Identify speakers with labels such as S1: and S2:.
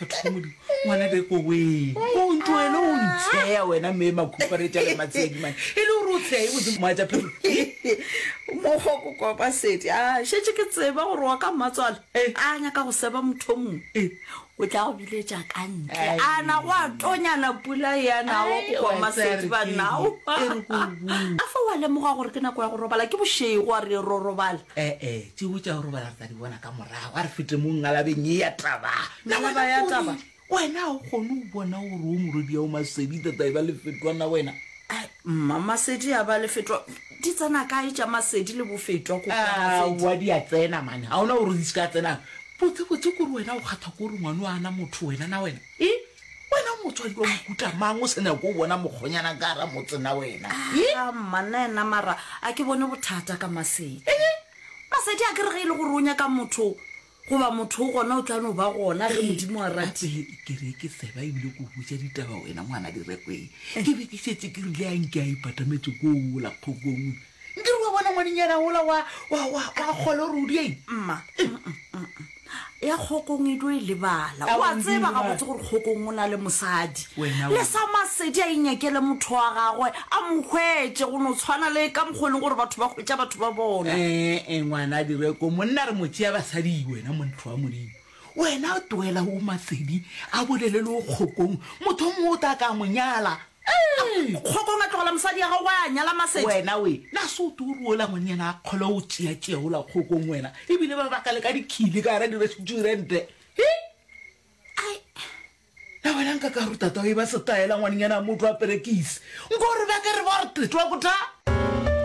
S1: Batho ba Modimo, ngwana Reko wee, o ntloele o ntsheya wena mme makhuparetša le matshedi mane. E le gore o tsheya e botse moatša phelo.
S2: Mokgwa ko kwa Masedi, a šetše ke tseba gore wa ka mmatswale a nyaka go seba motho o mongwe. O tla go biletša ka ntle. A na go a tonyana pula e a nawo ko kwa Masedi banna. A fa wa lemoga gore ke nako ya go robala, ke bošego a re ro robala.
S1: Ee, tšeo tša go robala re tla di bona ka morago. A re fete mo ngalabeng ye ya taba.
S2: Ngalaba ya taba?
S1: Wena ga o kgone go bona gore o morwedi ya o Masedi tata e ba lefetwa na wena?
S2: Ai, mma Masedi a ba lefetwa. Di tsena kae tša Masedi le bofetwa ko kwa Masedi?
S1: Aowa di a tsena mane, ga ona gore di se ka tsena. Botsebotse kore wena o kgathwa ke gore ngwano a na motho wena na wena? E? Wena o motswadi wa mohuta mang o sa nyake go bona mokgonyana ka gara motse na wena? E?
S2: A mma nna ena mara a ke bone bothata ka Masedi. Masedi a ke re ge e le gore o nyaka motho goba motho o gona o tla no ba gona ge Modimo a ratile.
S1: Gape ke re ke seba ebile ke go botša ditaba wena ngwana Direkweng. Ke be ke šetše ke rile a nke a ipatametše kola kgokong. Nkere wa bona ngwanenyana wola wa, wa, wa, wa kgole gore o dieng?
S2: Mma, ya Kgokong e tlo e lebala. O a tseba gabotse gore Kgokong o na le mosadi. Le sa Masedi a inyakele motho wa gagwe, a mo hwetše, go no tshwana le ka mokgwa e leng gore batho ba hwetša batho ba bona.
S1: Ee, ngwana Direko, monna re mo tšea basadi, wena motho wa Modimo. Wena tlohela o Masedi a bolele le o Kgokong, motho o mongwe o tla ka a mo nyala.
S2: Ee! Kgokong a tlogela mosadi ya gagwe a nyala Masedi.
S1: Wena we, na se o tlo re ola ngwanenyana a kgole o tšeatšea ola Kgokong wena? Ebile ba baka le ka dikhile ka gara direstuarente. He!
S2: Ai!
S1: Na wena nka ka re tata o e ba setaela ngwanenyana a motho a perekise? Nko re ba ke re ba re tetwa ko tha?